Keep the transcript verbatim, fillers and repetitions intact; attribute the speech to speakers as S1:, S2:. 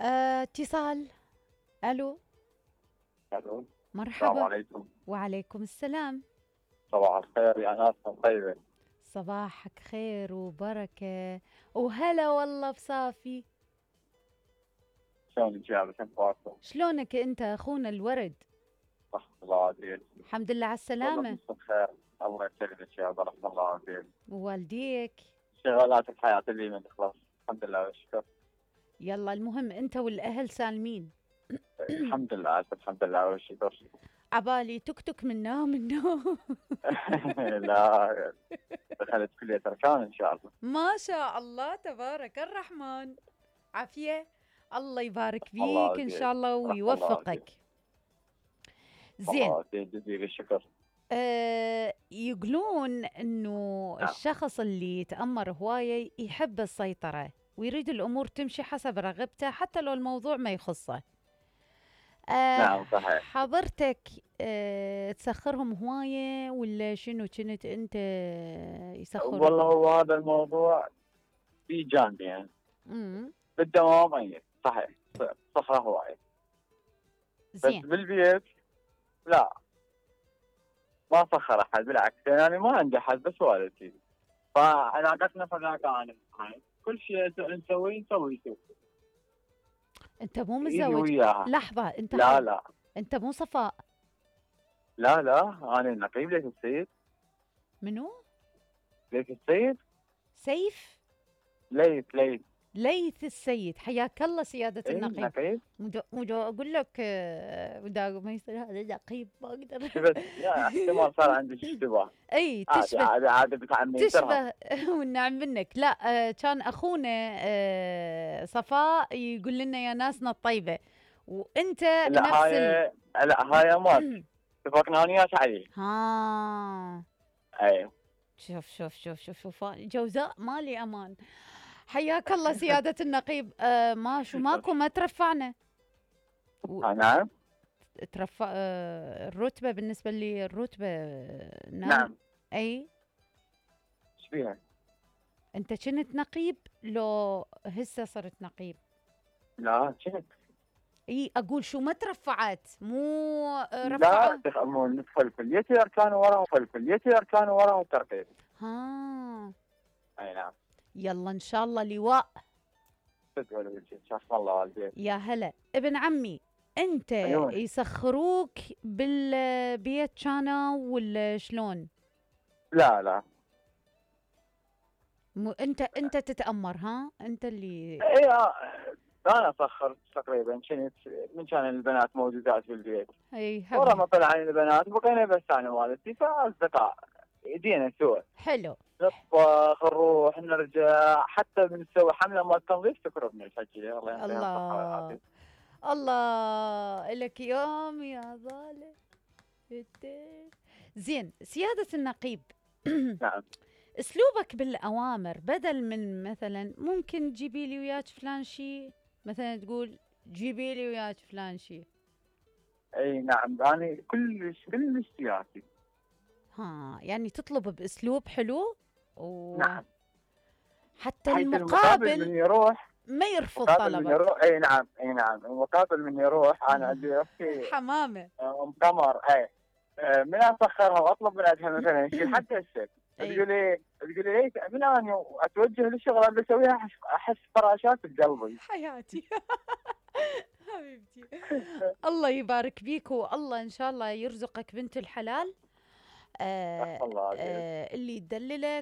S1: آه، اتصال. الو.
S2: الو. السلام
S1: مرحبا.
S2: عليكم.
S1: وعليكم السلام.
S2: صباح الخير يا ناس طيبة.
S1: صباحك خير وبركة وهلا والله بصافي.
S2: شلونك يا بس اخباركم؟
S1: شلونك انت اخونا الورد؟
S2: صح الله عافيك.
S1: الحمد لله على
S2: والله
S1: السلامة.
S2: بس بخير. الله يسلمك يا رب الله عافيك.
S1: ووالديك.
S2: شغالات الحياة اللي ما تخلص. الحمد لله والشكر.
S1: يلا المهم انت والاهل سالمين.
S2: الحمد لله الحمد لله والشكر.
S1: عبالي تكتك من نوم من نوم.
S2: لا دخلت كلية أركان إن شاء الله.
S1: ما شاء الله تبارك الرحمن. عافية. الله يبارك
S2: الله
S1: فيك ان
S2: عافيك.
S1: شاء الله
S2: الله
S1: ويوفقك.
S2: عافيك.
S1: زين.
S2: الله عافيك جزيل الشكر.
S1: آه يقولون انه
S2: نعم.
S1: الشخص اللي يتأمر هواية يحب السيطرة ويريد الامور تمشي حسب رغبته حتى لو الموضوع ما يخصه. آه
S2: نعم صحيح.
S1: حضرتك آه تسخرهم هواية ولا شنو كنت انت يسخروا؟
S2: والله هو هذا الموضوع في جانبين.
S1: امم
S2: بالدوام أي صحيح صخرة هواية. بس
S1: زين.
S2: بالبيت لا ما فخر احد بالعكس يعني ما عندي احد بس والدتي. فعلاقتنا فذاك انا معي كل شيء نسويه نسوي شيء.
S1: انت مو
S2: ايدي
S1: متزوج؟
S2: وياها.
S1: لحظة انت
S2: لا
S1: حض...
S2: لا
S1: انت مو صفاء؟
S2: لا لا انا نقيب ليث السيد.
S1: منو؟
S2: ليث السيد.
S1: سيف؟
S2: ليث ليث.
S1: ليث السيد، حياك الله سيادة
S2: اي
S1: النقيب.
S2: نقيب.
S1: مدو مدو اقول لك آه، ودا ما يصير هذا نقيب ما اقدر.
S2: بس يا احتمال صار عندك اشتباه.
S1: اي
S2: عادي
S1: تشبه.
S2: عادي عادي بتعمي ترهم.
S1: تشبه. والنعم منك. لا آه، كان اخونا آه، صفاء يقول لنا يا ناسنا الطيبة وانت
S2: لا
S1: نفس ال...
S2: هاي لا هاي مات اتفقنا انا وياك عليه.
S1: ها.
S2: اي
S1: شوف شوف شوف شوف شوف جوزاء مالي امان. حياك الله سيادة النقيب. آه ما شو ماكو ما ترفعنا. و...
S2: نعم.
S1: ترفع آه الرتبة بالنسبة لي الرتبة آه، نعم.
S2: نعم.
S1: اي
S2: ايش فيها؟
S1: انت كنت نقيب لو هسه صرت نقيب؟
S2: لا كنت.
S1: اي اقول شو ما ترفعت مو آه،
S2: لا
S1: رفعة.
S2: تخمون ندخل كليتي اركان ورا ندخل كليتي اركان ورا وترقيب.
S1: ها.
S2: اي نعم.
S1: يلا ان شاء الله لواء.
S2: تقول وجهك شاف الله والديك.
S1: يا هلا ابن عمي. انت
S2: عيون.
S1: يسخروك بالبيت كانوا ولا شلون؟
S2: لا لا.
S1: مو انت انت تتأمر ها انت اللي.
S2: اي آه، انا سخرت تقريبا كنت من كان البنات موجودات بالبيت.
S1: اي
S2: ورا
S1: حبيبي.
S2: ما طلع البنات بقينا بس انا والدتي فاصدقاء يدينا سوا
S1: حلو.
S2: نطبخ نروح نرجع حتى بنسوي حمله مال تنظيف تكرمنا الحجيه الله يعطيها الصحه
S1: الله
S2: والعافيه.
S1: الله لك يوم يا ظالم. زين سيادة النقيب.
S2: نعم.
S1: اسلوبك بالاوامر بدل من مثلا ممكن تجيبي لي وياك فلان شيء، مثلا تقول جيبي لي وياك فلان شيء.
S2: اي نعم انا كلش كلش سياسي.
S1: ها يعني تطلب باسلوب حلو و...
S2: نعم.
S1: حتى
S2: حيث المقابل من
S1: المقابل
S2: يروح.
S1: ما يرفض
S2: مقابل من
S1: طلبك.
S2: يروح اي نعم اي نعم المقابل من يروح انا عندي اختي
S1: حمامة.
S2: ام قمر اي آه، من اسخرها واطلب من عندها مثلا شيء حتى الشيء
S1: أي.
S2: تقول لي تقول لي ليش من انا اتوجه للشغله اللي اسويها احس احس فراشات بقلبي.
S1: حياتي. حبيبتي. الله يبارك بيك والله ان شاء الله يرزقك بنت الحلال. آه
S2: الله عليك.
S1: آه اللي يدللك